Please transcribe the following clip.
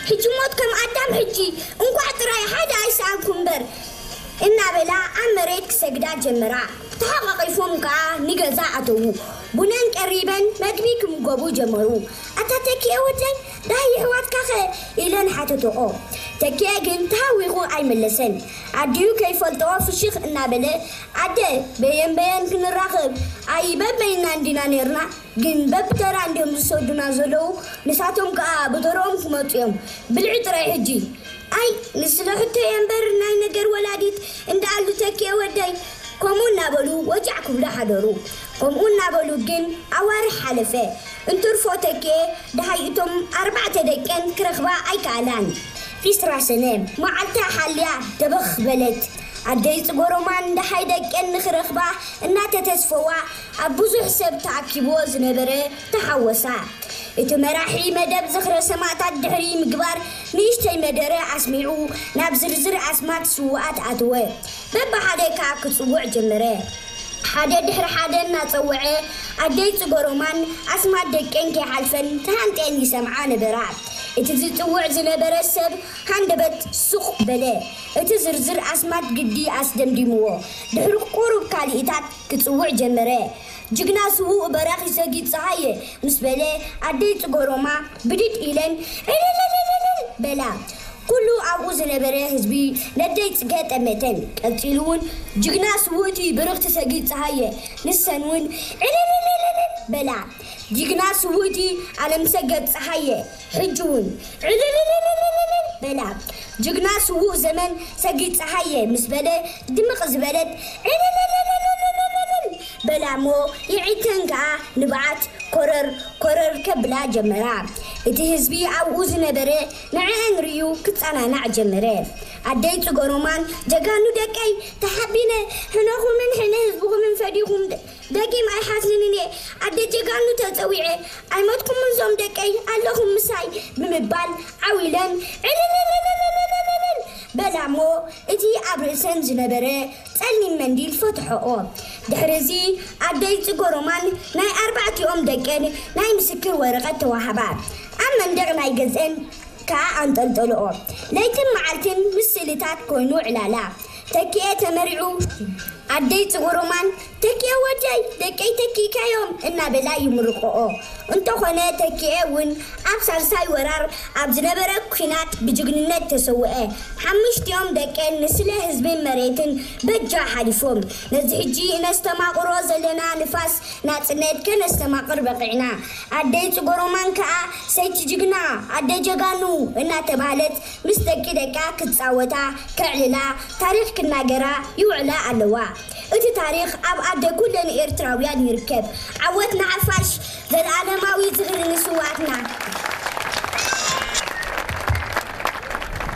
ሕጂ ሞት ከም ኣዳም ሕጂ፣ እንኳዕ ጥራይ ሓደ ኣይሰኣንኩ እምበር እናበላ ኣብ መሬት ክሰግዳ ጀመራ። ተሓቋቒፎም ከኣ ንገዛ ኣተዉ። ቡነን ቀሪበን መግቢ ክምገቡ ጀመሩ። ኣታ ተኪኤ ወደይ፣ ዳይ የሕዋትካኸ? ኢለን ሓተተኦ። ተኪኤ ግን ተሃዊኹ ኣይመለሰን። ኣዲኡ ከይፈልጥኦ ፍሽኽ እናበለ፣ ኣደ፣ በየን በየን ክንራኸብ? ኣይ በበይና እንዲና ኔርና፣ ግን በብተራ እንዲዮም ዝሰዱና ዘለዉ። ንሳቶም ከኣ ብተርኦም ክመጹ እዮም። ብልዒ ጥራይ ሕጂ። ኣይ ንስለ ሕቶ እየ እምበር ናይ ነገር ወላዲት እንዳኣሉ ተኪኤ ወደይ። ከምኡ እናበሉ ወጃዕ ክብሉ ሓደሩ። ከምኡ እናበሉ ግን ኣዋርሕ ሓለፈ። እንትርፎ ተኪኤ ደሃይ እቶም ኣርባዕተ ደቀን ክረኽባ ኣይከኣላን። ዒስራ ሰነ መዓልታ ሓልያ ደበኽ በለት። ኣደይ ጽጎሮማን ደሃይ ደቀን ንኽረኽባ እናተተስፈዋ ኣብ ብዙሕ ሰብ ተኣኪብዎ ዝነበረ ተሓወሳ። እቲ መራሒ መደብ ዝኽረ ሰማእታት ድሕሪ ምግባር ንእሽተይ መደረ ኣስሚዑ ናብ ዝርዝር ኣስማት ስውኣት ኣተወ። በብሓደ ከኣ ክጽውዕ ጀመረ። ሓደ ድሕሪ ሓደ እናጸውዐ ኣደይ ጽጎሮማን ኣስማት ደቀን ከይሓልፈን ተሃንጠን ይሰምዓ ነበራ። እቲ ዝጽውዕ ዝነበረ ሰብ ሃንደበት ሱቕ በለ። እቲ ዝርዝር ኣስማት ግዲ ኣስደምዲምዎ። ድሕሪ ቁሩብ ካልኢታት ክጽውዕ ጀመረ። ጅግና ስዉእ በራኺ ሰጊድ ጸሃየ ምስ በለ ኣደይ ጽጎሮማ ብድድ ኢለን ዕልልልልልል በላ። ኩሉ ኣብኡ ዝነበረ ህዝቢ ነደይ ጽገ ጠመተን። ቀጺሉ እውን ጅግና ስውእቲ ብርኽቲ ሰጊድ ጸሃየ ንሰን እውን ዕልልልልልል በላ። ጅግና ስውእቲ ኣለምሰገድ ጸሃየ ሕጂ እውን ዕልልልልልልል በላ። ጅግና ስዉእ ዘመን ሰጊድ ጸሃየ ምስ በለ ድምቕ ዝበለት ዕልልልልልልል በላ እሞ የዒተን ከኣ ንብዓት ኮረር ኮረር ከብላ ጀመራ። እቲ ህዝቢ ኣብኡ ዝነበረ ንዕአን ርእዩ ክጸናናዕ ጀመረ። ኣደይ ጽጎሮማን ጀጋኑ ደቀይ ተሓቢነ ሕነኹምን ሕነ ህዝብኹምን ፈዲኹም ደ- ደጊም ኣይሓስንን እየ። ኣደ ጀጋኑ ተጸዊዐ ኣይሞትኩምን ዞም ደቀይ ኣለኹም ምሳይ ብምባል ዓው ኢለን ዕልልልልልልልልል በላ እሞ እቲ ኣብ ርእሰን ዝነበረ ጸሊም መንዲል ፈትሐኦ። ድሕሪ እዚ ኣደይ ጽጎሮማን ናይ ኣርባዕቲኦም ደቀን ናይ ምስክር ወረቐት ተዋህባ። ኣብ መንደቕ ናይ ገዝአን ከኣ ኣንጠልጠልኦ። ለይትን መዓልትን ምስ ስእልታት ኮይኑ ዕላላ። ተኪኤ ተመሪዑ ኣደይ ጽጉሩማን ተኪኤ ወደይ ደቀይ ተኪእካዮም እናበላ ይምርቆኦ። እንተኾነ ተኪኤ እውን ኣብ ሳልሳይ ወራር ኣብ ዝነበረ ኲናት ብጅግንነት ተሰውአ። ሓሙሽቲኦም ደቀን ንስለ ህዝብን መሬትን በጃ ሓሊፎም። ነዚ ሕጂ እነስተማቕሮ ዘለና ንፋስ ናጽነት ከነስተማቕር በቒዕና። ኣደይ ጽጎሮማን ከኣ ሰይቲ ጅግና ኣደይ ጀጋኑ እናተባህለት ምስ ደቂ ደቃ ክትጻወታ፣ ከዕልላ፣ ታሪኽ ክናገራ ይውዕላ ኣለዋ። እቲ ታሪኽ ኣብ ኣደ ኩለን ኤርትራውያን ይርከብ። ዓወት ንሓፋሽ!